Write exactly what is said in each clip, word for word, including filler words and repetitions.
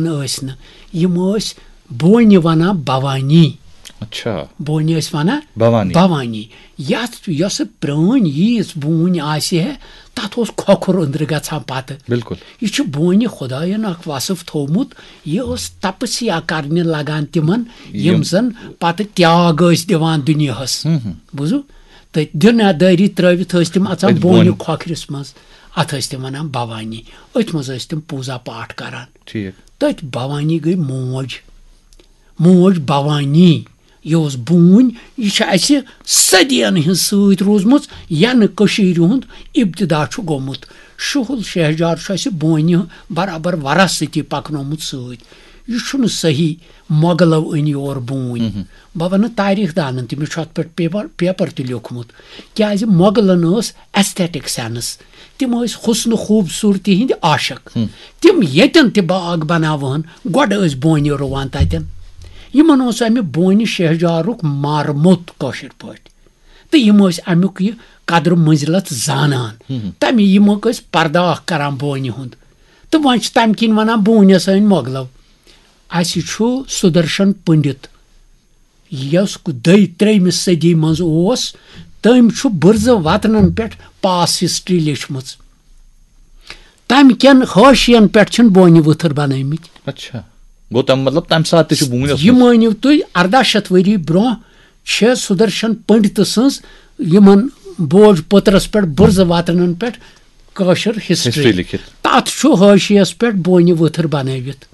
ٲسۍ نہٕ، یِم ٲسۍ بونہِ وَنان بھوانی۔ اچھا۔ بونہِ ٲسۍ وَنان بھوانی۔ بھوانی۔ یَتھ یۄسہٕ پرٛٲنۍ ییٖژ بوٗنۍ آسہِ ہے، تَتھ اوس کھۄکھُر أنٛدرٕ گژھان پَتہٕ۔ بِلکُل۔ یہِ چھُ بونہِ خۄدایَن اَکھ وصف تھوٚومُت، یہِ ٲس تپسیا کرنہِ لگان تِمن، یِم یِم زَن پَتہٕ تیاگ ٲسۍ دِوان دُنیاہَس۔ ہم، ہم۔ بوٗزُو؟ تہٕ دیٖنہٕ دٲری ترٲوِتھ ٲسۍ تِم اَژان أتھۍ بونہِ بونہِ۔ کھۄکھرِس منٛز، اَتھ ٲسۍ تِم وَنان بھوانی۔ أتھۍ منٛز ٲسۍ تِم پوٗزا پاٹھ کران۔ ٹھیٖک۔ تٔتھۍ بھوانی گٔے موج۔ موج بھوانی، یہِ اوس بوٗنۍ، یہِ چھِ اَسہِ صدیَن ہٕنٛز سۭتۍ روٗزمٕژ، یَنہٕ کٔشیٖرِ ہُنٛد ابتدا چھُ گوٚمُت۔ شُہُل شہجار چھُ اَسہِ بونہِ برابر وراثتی پَکنومُت سۭتۍ۔ یہِ چھُنہٕ صحیح مۄغلو أنۍ یور بوٗنۍ۔ بہٕ وَنہٕ تٲریٖخ دانَن تہِ، مےٚ چھُ اَتھ پٮ۪ٹھ پیپر، پیپر تہِ لیوٚکھمُت، کیٛازِ مۄغلَن ٲس aesthetic sense۔ تِم ٲسۍ حُسنہٕ خوٗبصوٗرتی ہٕنٛدۍ عاشق۔ تِم ییٚتٮ۪ن تہِ باغ بناوہن، گۄڈٕ ٲسۍ بونہِ رُوان تتٮ۪ن۔ یِمن اوس امہِ بونہِ شہجارُک مارمُت، کٲشِر پٲٹھۍ۔ تہٕ یِم ٲسۍ امیُک یہِ قدر منزلت زانان۔ تمہِ یِمُک ٲسۍ پرداخ کران بونہِ ہُنٛد۔ تہٕ وۄنۍ چھِ تمہِ کِنۍ ونان بونہِ سٲنۍ مۄغلو۔ اسہِ چھُ سُدرشن پنڈت، یۄس دٔے ترٛیٚیمہِ صدی منٛز اوس، تٔمۍ چھُ بُرزٕ وطنن پٮ۪ٹھ past history لیچھمٕژ۔ تَمہِ کٮ۪ن حٲشین پٮ۪ٹھ چھِن بونہِ ؤتھٕر بنٲومٕتۍ۔ اچھا۔ گوٚو تَمہِ مطلب تَمہِ ساتہٕ تہِ چھُ بوٗنۍ ٲسمٕژ۔ یہِ مٲنِو تُہۍ، ارداہ شیٚتھ ؤری برونٛہہ چھِ سُدرشن پنڈتہٕ سٕنٛز یِمن بوج پٔترس پٮ۪ٹھ بُرزٕ وطنن پٮ۪ٹھ کٲشِر history۔ History لیکھِتھ۔ تَتھ چھُ حٲشیس پٮ۪ٹھ بونہِ ؤتھٕر بنٲوِتھ۔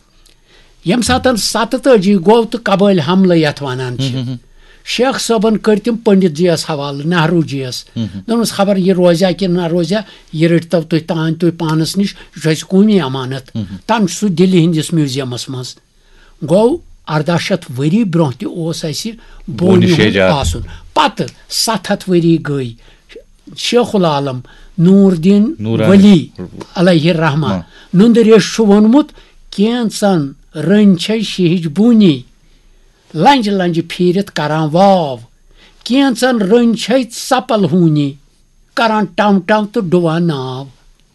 ییٚمہِ ساتَن ستتٲجی گوٚو تہٕ قبٲیلۍ حملہٕ یَتھ وَنان چھِ، شیخ صٲبَن کٔرۍ تِم پنڈت جی یَس حوالہٕ، نہروٗ جی یَس۔ دوٚپنَس، خبر یہِ روزیا کِنہٕ نہ روزیا، یہِ رٔٹۍتو تُہۍ تام تُہۍ پانَس نِش، یہِ چھُ اَسہِ قومی امانت۔ تَم چھُ سُہ دِلہِ ہِنٛدِس میوٗزیَمَس منٛز۔ گوٚو، ارداہ شیٚتھ ؤری برونٛہہ تہِ اوس اَسہِ بونہِ بونہِ ہُنٛد شیجار۔ آسُن۔ پَتہٕ ستھ ہَتھ ؤری گٔے، شیخ العالم نور الدین نورانی۔ ولی علیہ الرحمہ ہاں۔ نُندٕ ریش چھُ ووٚنمُت، کینٛژن رٔنۍ چھے شیہج بونی، لنجہِ لنجہِ پھیٖرِتھ کران واو، کینٛژن رٔنۍ چھے ژپل ہوٗنی، کران ٹم ٹم تہٕ ڈُوان ناو۔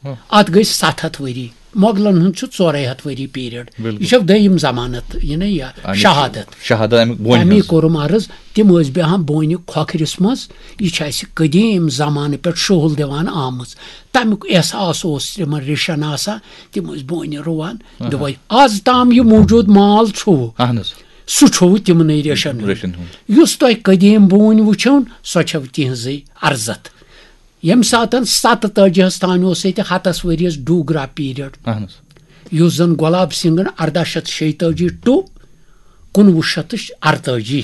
ہاں۔ اتھ گٔے ستھ ہتھ ؤری، مۄغلن ہُنٛد چھُ ژورے ہتھ ؤری period۔ بِلکُل۔ یہِ چھو دوٚیِم ضمانت، یہِ نہ یہِ اَمِچ شہادت۔ شہادت اَمہِ بونہِ اَمی ہٕنٛز۔ کوٚرُم عرض، تِم ٲسۍ بیٚہان بونہِ کھۄکھرِس منٛز۔ یہِ چھِ اَسہِ قدیٖم زمانہٕ پٮ۪ٹھ شُہُل دِوان آمٕژ۔ تَمیُک احساس اوس تِمن ریشن آسان، تِم ٲسۍ بونہِ رُوان۔ آہا۔ دوٚپے، آز تام یہِ موٗجوٗد مال چھُو، اہن حظ۔ سُہ چھُو تِمنٕے ریشن ہُنٛد۔ ریشن ہُنٛد۔ یُس تۄہہِ قدیٖم بونۍ وٕچھو، سۄ چھو تِہنٛزٕے ارزتھ۔ ییٚمہِ ساتَن ستتٲجی ہَس تام اوس ییٚتہِ ہَتَس ؤریَس ڈوٗگرا period، اہن حظ۔ یُس زَن گۄلاب سنگھن ارداہ شیٚتھ شیٚیہِ تٲجی to کُنوُہ شیٚتھ تہٕ اَرتٲجی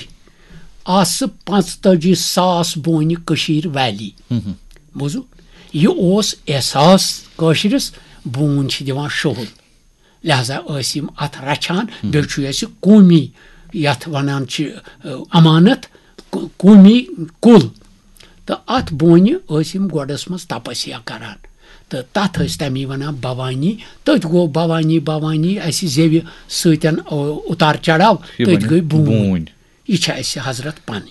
آسہٕ پانٛژتٲجی ساس بونہِ کٔشیٖر valley۔ ہم ہم۔ بوٗزِو، یہِ اوس احساس کٲشرِس، بوٗنۍ چھِ دِوان شُہُل۔ لہذا ٲسۍ یِم اَتھ رَچھان۔ بیٚیہِ چھُ اَسہِ قومی، یَتھ وَنان چھِ، اَ، امانت، قو-، قومی کُل۔ تہٕ اَتھ بونہِ ٲسۍ یِم گۄڈَس منٛز تپسیا کران۔ تہٕ تَتھ ٲسۍ تَمی وَنان بھوانی۔ تٔتھۍ گوٚو بھوانی، بھوانی اَسہِ زیوِ سۭتۍ، اَ، اُتار چڑاو، یہِ تٔتھۍ بَنہِ گٔے بوٗنۍ۔ بوٗنۍ۔ یہِ چھِ اَسہِ حضرت پَنٕنۍ۔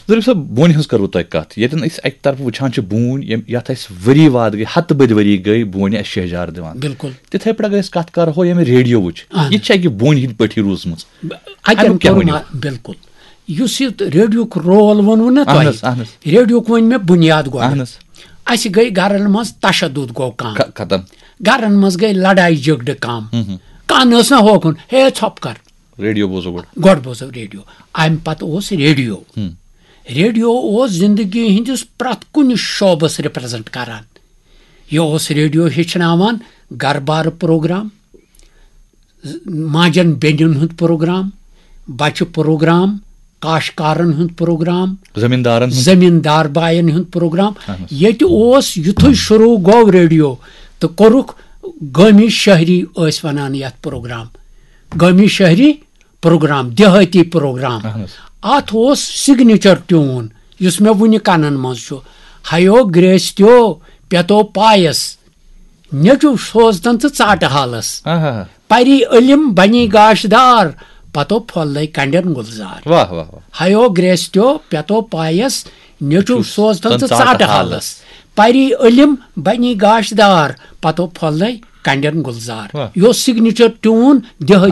ظریف صٲب، بونہِ ہٕنٛز کٔروٕ تۄہہِ کَتھ؟ ییٚتٮ۪ن أسۍ اَکہِ طرفہٕ وٕچھان چھِ بوٗنۍ، ییٚمۍ، یَتھ اَسہِ ؤری واد گٔے، ہَتہٕ بٔدۍ ؤری گٔے بونہِ اَسہِ شہجار دِوان۔ بِلکُل۔ تِتھَے پٲٹھۍ اگر أسۍ کَتھ کَرہو ییٚمہِ ریڈیووٕچ، اَہَن۔ یہِ تہِ چھِ اَکہِ بونہِ ہِنٛدۍ پٲٹھی روٗزمٕژ۔ ب-، اَتٮ۪ن اَمیُک کیٛاہ کوٚر ؤنِو؟ ما-، بِلکُل۔ یُس یہِ ریڈیوُک role ووٚنوُ نہ اَہَن تۄہہِ، حظ، اَہَن حظ۔ ریڈیوُک ووٚن مےٚ بُنیاد گۄڈٕ۔ اَہَن حظ۔ اَسہِ گٔے گَرَن منٛز تشدد گوٚو کَم۔ خ-، ختم۔ گَرَن منٛز گٔے لڑایہِ جھگڑٕ کَم۔ ہُم ہُم۔ کانٛہہ نہٕ ٲس نہ ہوکُن، ہے ژھۄپہٕ کَر۔ ریڈیو بوزو گۄڈٕ۔ گۄڈٕ بوزو ریڈیو۔ اَمہِ پتہٕ اوس ریڈیو۔ ہم۔ ریڈیو اوس زندگی ہٕنٛدِس پرٛٮ۪تھ کُنہِ شعبس represent کران۔ یہِ اوس ریڈیو ہیٚچھناوان گرٕ بارٕ پروگرام، ماجن بیٚنٮ۪ن ہُنٛد پروگرام، بچہٕ پروگرام، کاشتکارن ہُنٛد پروگرام، زٔمیٖندارن ہُنٛد۔ زٔمیٖندار باین ہُنٛد پروگرام۔ اہن حظ۔ ییٚتہِ اوس یُتھُے شروٗع گوٚو ریڈیو تہٕ کوٚرُکھ گٲمی شہری ٲسۍ ونان یتھ پروگرام۔ گٲمی شہری پروگرام، دیہٲتی پروگرام۔ اہن حظ۔ اتھ اوس signature tune یُس مےٚ وُنہِ کنن منٛز چھُ، ہیو گریستیو پیتو پایس، نیٚچو سوزتن تہٕ ژاٹہٕ حالس۔ آہا۔ پری علم بنی گاشدار، پتو پھۄلے کنڈٮ۪ن گُلزار۔ واہ، واہ، واہ۔ ہیو گریستیو پیتو پایس، نیٚچو چھُ سوزتن تن تہٕ ژاٹہٕ ژاٹہٕ حالس۔ حالس۔ پری علم بنی گاشدار، پتو پھۄلے کنڈٮ۪ن گُلزار۔ واہ۔ یہِ اوس signature tune دیہٲتی